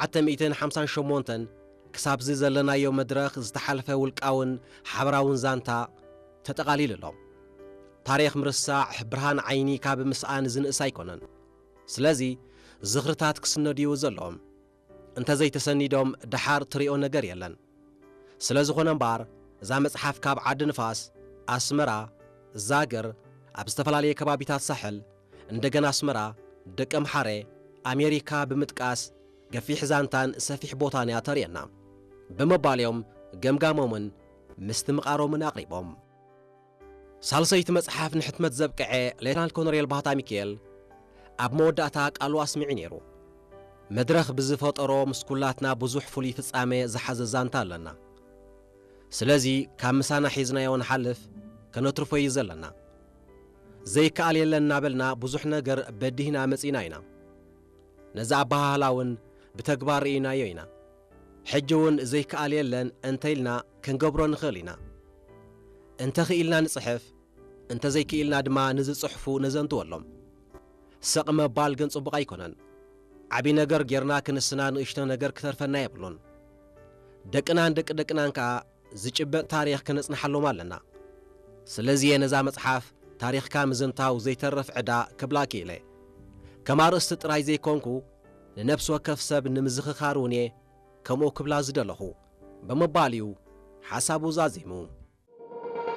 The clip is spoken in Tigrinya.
ዓተ ሚእትን ሓምሳን ሸሞንተን ክሳብዚ ዘለናዮ መድረኽ ዝተሓልፈ ውልቃውን ሓበራውን ዛንታ ተጠቓሊሉ ኣሎ። ታሪኽ ምርሳዕ ብርሃን ዓይኒ ካብ ምስኣን ዝንእስ ኣይኮነን። ስለዚ ዝኽርታት ክስነድዩ ዘለዎም፣ እንተዘይተሰኒዶም ደሓር ትሪኦ ነገር የለን። ስለ ዝኾነ እምበኣር እዛ መጽሓፍ ካብ ዓዲ ንፋስ፣ ኣስመራ፣ ዛግር፣ ኣብ ዝተፈላለየ ከባቢታት ሳሕል፣ እንደገና ኣስመራ፣ ደቀምሓረ፣ ኣሜሪካ ብምጥቃስ ገፊሕ ዛንታን ሰፊሕ ቦታን እያ ተርእየና ብምባል እዮም ገምጋሞምን ምስትምቓሮምን ኣቕሪቦም። ሳልሰይቲ መጽሓፍ ንሕትመት ዘብቅዐ ሌተናል ኮሎኔል ባህታ ሚካኤል ኣብ መወዳእታ ቃሉ ኣስሚዑ ነይሩ። መድረኽ ብዝፈጠሮ ምስ ኩላትና ብዙሕ ፍሉይ ፍጻመ ዝሓዘ ዛንታ ኣለና። ስለዚ ካብ ምሳና ሒዝናዮ ንሓልፍ ከነትርፎ እዩ ዘለና። ዘይከኣል የለን እናበልና ብዙሕ ነገር በዲህና መጺና ኢና። ነዚ ኣበሃህላ እውን ብተግባር ርኢናዮ ኢና። ሕጂ እውን ዘይከኣል የለን እንተ ኢልና ክንገብሮ ንኽእል ኢና። እንተ ኽኢልና ንጽሕፍ፣ እንተ ዘይክኢልና ድማ ንዝጽሕፉ ነዘንትወሎም። ስቕ ምባል ግን ጽቡቕ ኣይኮነን። ዓቢ ነገር ጌርና ክንስና ንእሽቶ ነገር ክተርፈና የብሉን። ደቅናን ደቂ ደቅናን ከኣ ዝጭበጥ ታሪኽ ከነጽንሓሎም ኣለና። ስለዚ እየ ነዛ መጽሓፍ ታሪኽካ ምዝንታው ዘይተርፍ ዕዳ ክብላ ክኢለ። ከም ኣርእስቲ ጥራይ ዘይኮንኩ ንነፍሲ ወከፍ ሰብ ንምዝኽኻር እውን እየ ከምኡ ክብላ ዝደለኹ ብምባል እዩ ሓሳቡ ዛዚሙ።